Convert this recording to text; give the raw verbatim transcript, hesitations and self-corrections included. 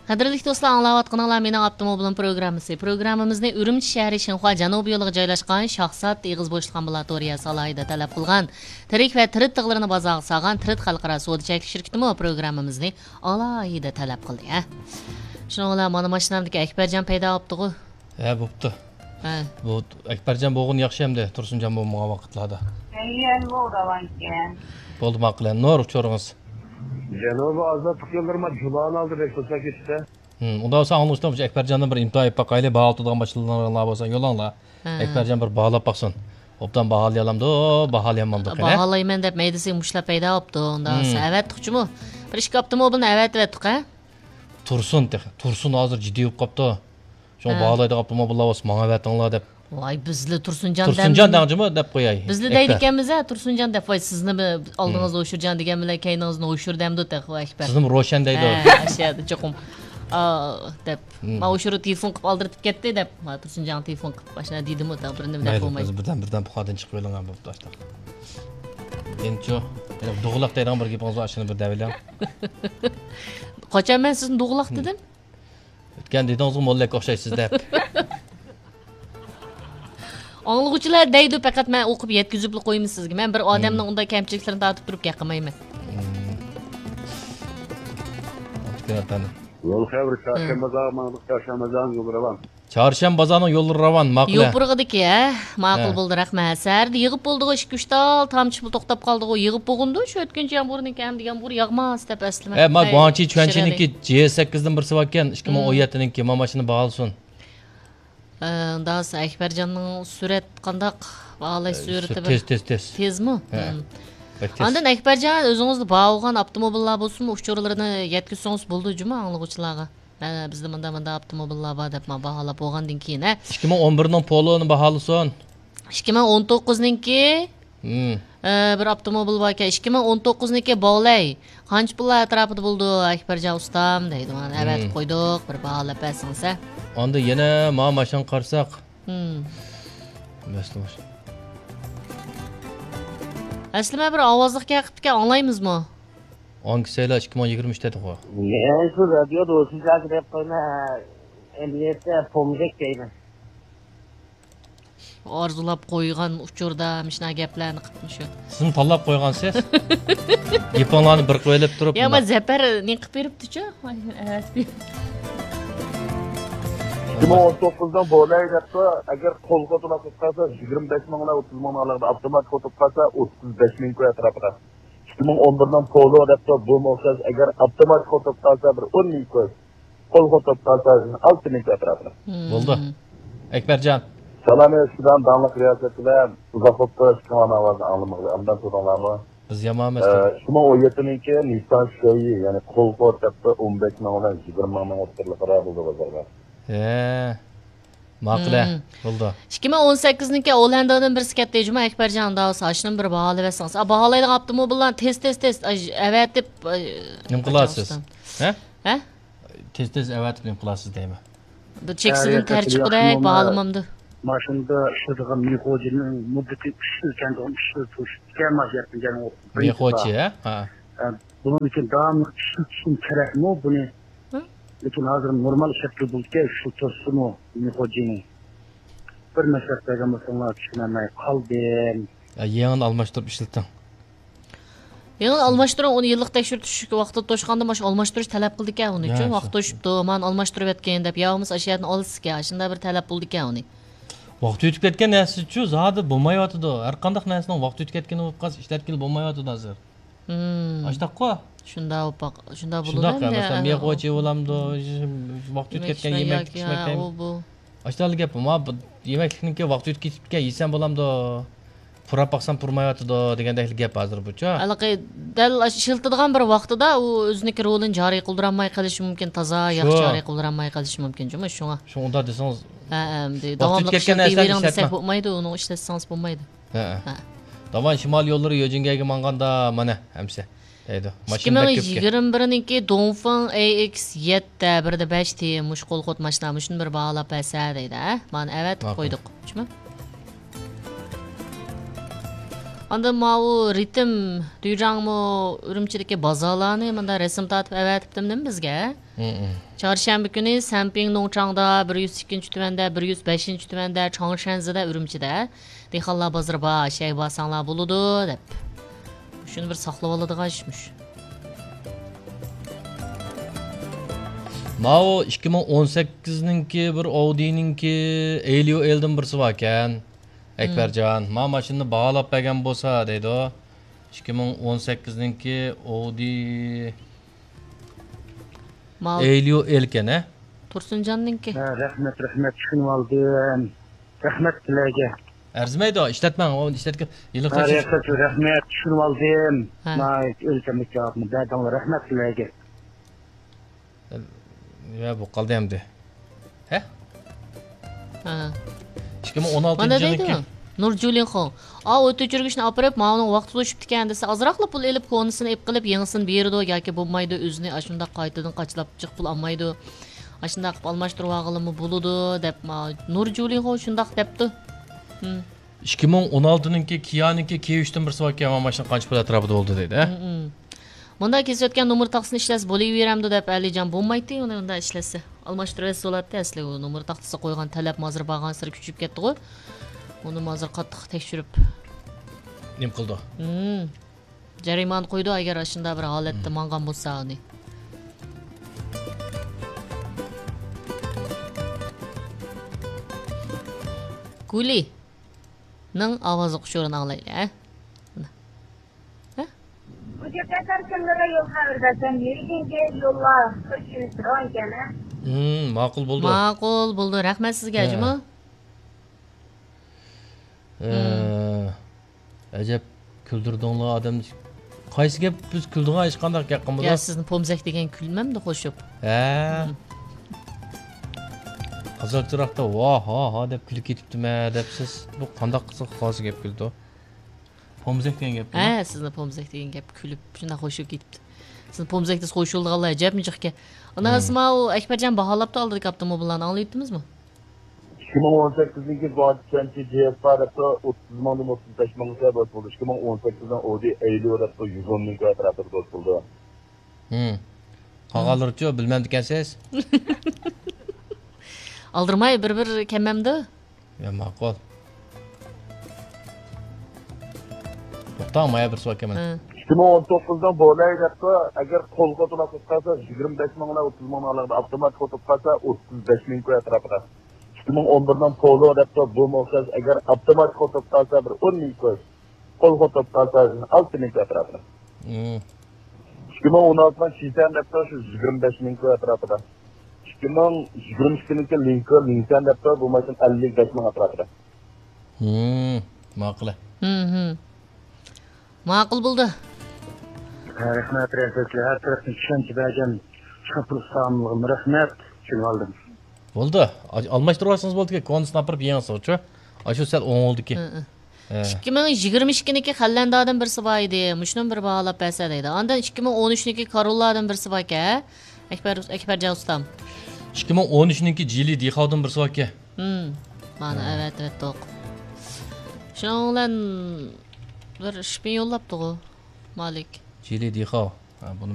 قەدىرلىك دوستلار، ئاڭلاۋاتقىنىڭلار مېنىڭ ئاپتوموبىلىم پروگراممىسى. پروگراممىمىزنى ئۈرۈمچى شەھىرى شىنخۇا جەنۇبىي يولىغا جايلاشقان شاھزات ئېغىز بوشلۇق ئامبۇلاتورىيەسى ئالاھىدە تەلەپ قىلغان تىرىك ۋە تىرىت تىغلىرىنى بازارغا سالغان تىرىت خەلقئارا سودا چەكلىك شىركىتىمۇ پروگراممىمىزنى ئالاھىدە تەلەپ قىلدى، ھە. شۇنىڭ بىلەن مانا ماشىنامدىكى ئەكبەرجان پەيدا بوپتىغۇ. ھە، بوپتۇ. ھە. بۇ ئەكبەرجان بولغىنى ياخشى ئەمدى، تۇرسۇنجان بولمىغان ۋاقىتلاردا. ئەييەن بۇ راۋانكەن. بولدى، ماقۇل. نۇر ئۇچۇرىڭىز. جەنۇبىي ئازادلىق يوللىرىما جۇلانى ئالدى بەك توسا كېتىشتە. ھىم، ئۇنداق بولسا ئاڭلىغۇچىلار ئەكبەرجاندىن بىر ئىمتىھان ئېلىپ باقايلى، باھا ئۇتىدىغان ماشىنىلار بولسا يوللاڭلار. ھە. ئەكبەرجان بىر باھالاپ باقسۇن. ئوبدان باھالىيالامدۇ، باھالىيالمامدۇ قېنى؟ باھالايمەن دەپ مەيدىسىگە مۇشتلاپ پەيدا بوپتۇ. ئۇنداق بولسا ئەۋەتتۇقچىمۇ؟ بىر ئىككى ئاپتوموبىلنى ئەۋەتىۋەتتۇق، ھە؟ تۇرسۇن تېخى. تۇرسۇن ھازىر جىددىي بولۇپ قاپتۇ. شۇڭا ھە. باھالايدىغان ئاپتوموبىللار بولسا ماڭا ئەۋەتىڭلار دەپ. ۋاي، بىزلا تۇرسۇنجان دەم-، تۇرسۇنجان دەڭجىمۇ دەپ قوياي. بىزلا ئەكبەر. دەيدىكەنمىز ھە، تۇرسۇنجان دەپ، ۋاي، سىزنىمۇ ئالدىڭىزدا ھوشۇرجان دېگەن بىلەن كەينىڭىزدىن ھوشۇر دەمدۇ تېخى، ۋاي، ئەكبەر. سىزنىمۇ روشەن دەيدۇ. ھە، ئاشۇ يەردە چوقۇم، ئا، دەپ. ماۋۇ شۇرۇ تېلېفون قىلىپ ئالدىرىتىپ كەتتى دەپ، ما تۇرسۇنجانغا تېلېفون قىلىپ ئاشۇنداق دېدىمۇ، تېخى بىرنېمە دەپ مەيلى، بولمايدۇ. بىز بىردەم، بىردەم پۇخادىن چىقىۋېلىڭ، بوپتۇ ئاشۇنداق. ئېنچۇ، دوغىلاق دەيدىغان بىر گېپىڭىز بار، ئاشۇنى بىر دەۋېلىڭ. قاچان مەن سىزنى دوغىلاق دېدىم؟ ئۆتكەن دېدىڭىزغۇ، موللاككە ئوخشايسىز دەپ. ئاڭلىغۇچىلار دەيدۇ، پەقەت مەن ئوقۇپ يەتكۈزۈپلا قويىمەن سىزگە. مەن بىر ئادەمنىڭ ئۇنداق كەمچىلىكلىرىنى تارتىپ تۇرۇپ گەپ قىلمايمەن. ئابدۇكېرىم ئەپەندى. يول خەۋىرى، چارشەنبە بازارغا ماڭدۇق، چارشەنبە بازارنىڭ يولى راۋان. چارشەنبە بازارنىڭ يوللىرى راۋان، ماقۇل. يوپۇرغىدىكى، ھە؟ ماقۇل بولدى، رەھمەت. سەھەردە يىغىپ بولدىغۇ، ئىككى، ئۈچ تال تامچە پۇل توختاپ قالدىغۇ، يىغىپ بولغىنىدۇ، شۇ ئۆتكۈنچى يامغۇرنىڭكى، ئەمدى يامغۇر ياغماس دەپ ئەسلىمە. ھە، ما گۇاڭچى چۈەنچىنىڭكى جى سەككىزدىن بىرسى باركەن، ئىككى مىڭ ئون يەتتىنىڭكى، ما ماشىنا باھالىسۇن. ئە، ئۇنداق بولسا ئەكبەرجاننىڭ سۈرئەت قانداق؟ باھالاش ئە، سۈرئىتى بىر تېز، تېز، تېز. تېزمۇ؟ ھە. بەك تېز. ئاندىن ئەكبەرجان، ئۆزىڭىزدە بار بولغان ئاپتوموبىللار بولسىمۇ، ئۇچۇرلىرىنى يەتكۈزسىڭىز بولىدۇ جۇمۇ ئاڭلىغۇچىلارغا. مانا بىزدە مۇنداق، مۇنداق ئاپتوموبىللار بار دەپ، مانا باھالاپ بولغاندىن كېيىن، ھە. ئىككى مىڭ ئون بىرنىڭ پولونى باھالىسۇن. ئىككى مىڭ ئون توققۇزنىڭكى، ئە، بىر ئاپتوموبىل باركەن. ئىككى مىڭ ئون توققۇزنىڭكى بولەي. قانچە پۇللار ئەتراپىدا بولىدۇ، ئەكبەرجان ئۇستام دەيدۇ. مانا ئەۋەتىپ قويدۇق، بىر باھالاپ بەرسىڭىز، ھە. ئاندىن يەنە ما ماشىنىغا قارىساق. ئەسلىمە بىر ئاۋازلىق گەپ قىپتىكەن، ئاڭلايمىزمۇ؟ ئاڭكىسەيلا ئىككى مىڭ يىگىرمە ئۈچ دېدىغۇ. يەنە شۇ رادىيودا ئوشۇنچە گەپ قىلما، ئەمەلىيەتتە پومزەك دەيمەن. ئارزۇلاپ قويغان ئۇچۇردا مۇشۇنداق گەپلەرنى قىپمۇ شۇ. سىزمۇ تاللاپ قويغانسىز. گېپىڭلارنى بىر قىلىۋېلىپ تۇرۇپ يا، مۇنداق. زەپەر نېقىپ بېرىپتۇچۇ. ئىككى مىڭ ئون توققۇزدىن بولەي دەپتۇ. ئەگەر قول خوتۇنلار قىلىپ قالسا، يىگىرمە بەش مىڭ بىلەن ئوتتۇز مىڭنىڭ ئارىلىقىدا، ئاپتوماتىك خوتۇن قالسا، ئوتتۇز بەش مىڭ كوي ئەتراپىدا. ئىككى مىڭ ئون بىرنىڭ پولو دەپتۇ، بۇمۇ ئوخشاش. ئەگەر ئاپتوماتىك خوتۇن قالسا، بىر ئون مىڭ كوي. قول خوتۇن قالسا، ئالتە مىڭ كوي ئەتراپىدا. بولدى. ئەكبەرجان. سالام، ئەسكىدان داڭلىق رىياسەت بىلەن ئۇزاق بولۇپتۇ، ئىككىڭلارنىڭ ئاۋازىنى ئاڭلىمىغىلى. ئاندىن تۇردۇڭلارمۇ؟ بىز يامان ئەمەس. ئىككى مىڭ ئون يەتتىنىڭكى نىسسان شېيى، يەنى قول خوتۇن دەپتۇ، ئون بەش مىڭ بىلەن يىگىرمە مىڭنىڭ ئوتتۇرىلىقىدا بولدى بازاردا. ھە. ماقۇل، ھە. بولدى. ئىككى مىڭ ئون سەككىزنىڭكى ئوللاندىدىن بىرسى كەتتى جۇمۇ، ئەكبەرجان، ئۇنداق بولسا ئاشۇنىمۇ بىر باھالاپ بەرسىڭىز. ئا، باھالايدىغان ئاپتوموبىللارنى تېز، تېز، تېز، ئاي، ئەۋەتىپ، ئاي، نېمە قىلاسىز؟ ھە؟ ھە؟ تېز، تېز ئەۋەتىپ نېمە قىلاسىز دەيمەن. بىر چېكىسىدىن تەر چىققۇدەك باھالىمامدۇ؟ ماشىنىدا ئىشلىتىدىغان مېخوجىنىڭ مۇددىتى ئۈچ يىل كەمدىغان، ئۈچ يىل تۇرۇشىدىكەن، ماشىنا يەتمىگەن. مېخوچى، ھە؟ ھە. بۇنىڭ ئۈچۈن داۋاملىق ئىشلىتىشىم كېرەكمۇ بۇنى؟ لېكىن ھازىر نورمال ئىشلەتكىلى بولىدىكەن، شۇ توسسىمۇ مېخوجىنى. بىر مەسلىھەت بەرگەن بولساڭلار چۈشىنەلمەي قالدىم. يېڭىنى ئالماشتۇرۇپ ئىشلىتىڭ. يېڭى ئالماشتۇرۇڭ، ئۇنى يىللىق تەكشۈرتۈش ۋاقتىدا توشقاندا ماشىنا ئالماشتۇرۇش تەلەپ قىلىدىكەن ئۇنى. ھە، ۋاقىت توشۇپتۇ، مانا ئالماشتۇرۇۋەتكىن دەپ، يا بولمىسا ئاشۇ يەردىن ئالىسىزكەن، ئاشۇنداق بىر تەلەپ بولىدىكەن ئۇنى. ۋاقتى ئۆتۈپ كەتكەن نەرسىچۇ زادى بولمايۋاتىدۇ. ھەر قانداق نەرسىنىڭ ۋاقتى ئۆتۈپ كەتكىنى بولۇپ قالسا، ئىشلەتكىلى بولمايۋاتىدۇ ھازىر. ئاشۇنداققۇ؟ شۇنداق بولۇپ، شۇنداق بولىدۇ شۇنداق، ئەمدى، مەسىلەن، مېغۇچى بولامدۇ، ۋاقتى ئۆتۈپ كەتكەن يېمەكلىك يېمەكلىك ئىچمەكلىك. ئاشۇنداق گەپ، ما يېمەكلىكنىڭكى ۋاقتى ئۆتۈپ كېتىپكەن، يېسەم بولامدۇ؟ پۇراپ باقسام پۇرىمايۋاتىدۇ دېگەندەك گەپ ھازىر بۇچۇ. ھېلىقى دەل ئاشۇ ئىشلىتىدىغان بىر ۋاقتىدا ئۇ ئۆزىنىڭكى رولىنى جارى قىلدۇرالماي قېلىشى مۇمكىن، تازا ياخشى جارى قىلدۇرالماي قېلىشى مۇمكىن جۇمۇ شۇڭا. شۇڭا ئۇنداق دېسىڭىز. ھە، ھە، داۋاملىق ئىشلىتىۋېرىڭ دېسەك بولمايدۇ، ئۇنى ئىشلەتسىڭىز بولمايدۇ. ھە. داۋان شىمال يوللىرى يۆجىنگەيگە ماڭغاندا مانا ئەمسە. دەيدۇ. ئىككى مىڭ يىگىرمە بىرنىڭكى دونفېڭ ئەي ئېكس يەتتە، بىر دە بەش تى، مۇشۇ قول خوت ماشىنا، مۇشۇنى بىر باھالاپ بەرسە دەيدۇ، ھە؟ مانا ئەۋەتىپ قويدۇق. شۇمۇ؟ ئاندىن ماۋۇ رىتىم دۈيجاڭمۇ ئۈرۈمچىدىكى بازارلارنى مۇنداق رەسىم تارتىپ ئەۋەتىپتىمدىمۇ بىزگە؟ ھىم. چارشەنبە كۈنى سەنپىڭ نوڭچاڭدا بىر يۈز ئىككىنچى تۈمەندە، بىر يۈز بەشىنچى تۈمەندە، چاڭشەنزىدە، ئۈرۈمچىدە دېھقانلار بازىرى بار، شەي بارساڭلار بولىدۇ دەپ. شۇنى بىر ساقلىۋالىدىغان ئىشمىش. ماۋۇ ئىككى مىڭ ئون سەككىزنىڭكى بىر ئاۋدىنىڭكى ئېليۇ ئېلدىن بىرسى باركەن. ئەكبەرجان، ما ماشىنىنى باھالاپ بەرگەن بولسا دەيدۇ. ئىككى مىڭ ئون سەككىزنىڭكى ئودى ماۋۇ ئېليۇ ئېلكەن، ھە؟ تۇرسۇنجاننىڭكى. ھە، رەھمەت، رەھمەت، چۈشىنىۋالدىم. رەھمەت سىلەرگە. ئەرزىمەيدۇ، ئىشلەتمەڭ، ئۇنى ئىشلەتكە ھېلىقى ھە، رەھمەت، چۈشىنىۋالدىم. ھە. ناھايىتى ئۆلچەملىك جاۋابنى بەردىڭلار، رەھمەت سىلەرگە. يا، بۇ قالدى ئەمدى. ھە؟ ھە. ئىككى مىڭ ئون ئالتىنچى مانا يىلنىڭكى دەيدۇ، نۇر جۇلىنخۇ. ئا، ئوت ئۆچۈرگۈچنى ئاپىرىپ، ماۋۇنىڭ ۋاقتى توشۇپتىكەن دېسە، ئازراقلا پۇل ئېلىپ، كونىسىنى ئېلىپ قىلىپ، يېڭىسىنى بېرىدۇ ياكى بولمايدۇ، ئۆزىنى ئاشۇنداق قايتىدىن قاچىلاپ جىق پۇل ئالمايدۇ. ئاشۇنداق قىلىپ ئالماشتۇرۇۋالغىلىمۇ بولىدۇ دەپ، ما، نۇر جۇلىنخۇ شۇنداق دەپتۇ. ھىم. ئىككى مىڭ ئون ئالتىنىڭكى كىيانىڭكى كىي ئۈچتىن بىرسى باركەن، مانا ماشىنا قانچە پۇل ئەتراپىدا بولدى دەيدۇ، ھە؟ ھىم، ھىم. مۇنداق كېسىۋەتكەن نومۇر تاختىسىنى ئىشلەتسە بولۇۋېرەمدۇ دەپ ئەلىجان بولمايتتى، ئۇنى مۇنداق ئىشلەتسە. ئالماشتۇرۇۋەتسە بولاتتى ئەسلى، ئۇ نومۇر تاختىسى قويغان تەلەپ مازىر بارغانسېرى كۈچىيىپ كەتتىغۇ. ئۇنى مازىر قاتتىق تەكشۈرۈپ. نېمە قىلىدۇ؟ ھىم. جەرىمانە قويىدۇ، ئەگەر ئاشۇنداق بىر ھالەتتە ھىم. ماڭغان بولسا ئۇنى. گۇلى. نىڭ ئاۋازلىق ئۇچۇرىنى ئاڭلايلى، ھە؟ ھە؟ بۇ جەپەتلەر كىملەرگە يول خەۋىرى بەرسەم، يۈرىكىڭگە يوللار، خۇش يۈرىسى رويكەن، ھە؟ ھىم، ماقۇل بولدى. ماقۇل بولدى. رەھمەت سىزگە، ھە. ھەجىمۇ. ھە. ھىم. ئەجەب كۈلدۈردۈڭلار ئادەمنى. قايسى گەپ بىز كۈلىدىغان ھېچقانداق گەپ قىلمىدۇق. يا، سىزنى پومزەك دېگەن كۈلمەمدۇ قوشۇپ؟ ھە. ھىم. قىزىل چىراغدا ۋاھ، ھا، ھا دەپ كۈلۈپ كېتىپتىمەن دەپسىز. بۇ قانداق قىزىق قايسى گەپ كۈلىدۇ؟ پومزەك دېگەن گەپمۇ؟ ھە، سىزنى پومزەك دېگەن گەپ كۈلۈپ، شۇنداق خۇشۇپ كېتىپتۇ. سىزنى پومزەك دېسە خۇشۇلىدىغانلار ئەجەبمۇ جىقكەن. ئانا، ھىم. ئەسماۋۇ ئەكبەرجان باھالاپتۇ ئالدىدىكى ئاپتوموبىللارنى، ئاڭلايتتىمىزمۇ؟ ئىككى مىڭ ئون سەككىزنىڭكى گۇاڭچەنچى جى ئېس پار دەپتۇ، ئوتتۇز مىڭدىن ئوتتۇز بەش مىڭغىچە دوست بولدى. ئىككى مىڭ ئون سەككىزنىڭ ئودى ئەيليۇ دەپتۇ، يۈز ئون مىڭ كۋادراتىدا دوست بولدى. ھىم. قالغانلىرىچۇ، بىلمەمدىكەنسىز؟ ئالدىرىماي، بىر-بىر كەممەمدۇ؟ يا، ماقۇل. توختاڭ، مايا بىر سوئال كەلمەن. ھە. ئىككى مىڭ ئون توققۇزنىڭ بولاي دەپتۇ، ئەگەر قولغا تولا سوتقانسا، يىگىرمە بەش مىڭ بىلەن ئوتتۇز مىڭنىڭ ئارىلىقىدا، ئاپتوماتىك سوتۇپ قالسا، ئوتتۇز بەش مىڭ كوي ئەتراپىدا. ئىككى مىڭ ئون بىرنىڭ پولو دەپتۇ، بۇمۇ ئوخشاش، ئەگەر ئاپتوماتىك سوتۇپ قالسا، بىر ئون مىڭ كوي. قولغا توپ قالسا، ئالتە مىڭ كوي ئەتراپىدا. ھىم. ئىككى مىڭ ئون ئالتىنىڭ شىسەن دەپتۇ، شۇ يىگىرمە بەش مىڭ كوي ئەتراپىدا. ئىككى مىڭ يىگىرمە ئىككىنىڭكى لىنكولن، لىنكولن دەپتۇ، بۇ ماشىنا ئەللىك بەش مىڭ ئەتراپىدا. ھىم، ماقۇل. ھىم، ھىم. ماقۇل بولدى. ھە، رەھمەت، رەھمەت. ھەر تەرەپتىن چۈشەنچە بەرگەن شاپۇر ئۇستامغىمۇ رەھمەت. چۈشىنىۋالدىم. بولدى. ئا-، ئالماشتۇرۇۋالسىڭىز بولىدىكەن، كونىسىنى ئاپىرىپ يېڭىسىغۇچۇ. ئاشۇ سەل ئوڭۇلدىكى. ھە، ھە. ھە. ئىككى مىڭ يىگىرمە ئىككىنىڭكى خەنلەندادىن بىرسى بار ئىدى. مۇشۇنىمۇ بىر باھالاپ بەرسە دەيدۇ. ئاندىن ئىككى مىڭ ئون ئۈچنىڭكى كاروللادىن بىرسى باركەن. ئەكبەر، ئەكبەرجان ئۇستام. ئىككى مىڭ ئون ئۈچنىڭكى جىلى دىخاۋدىن بىرسى باركەن. ھىم. مانا، ھە. ئەۋەتىۋەتتۇق. شۇنىڭ بىلەن بىر شپىن يوللاپتىغۇ، مالىك. جىلى دىخاۋ. ھە، بۇنى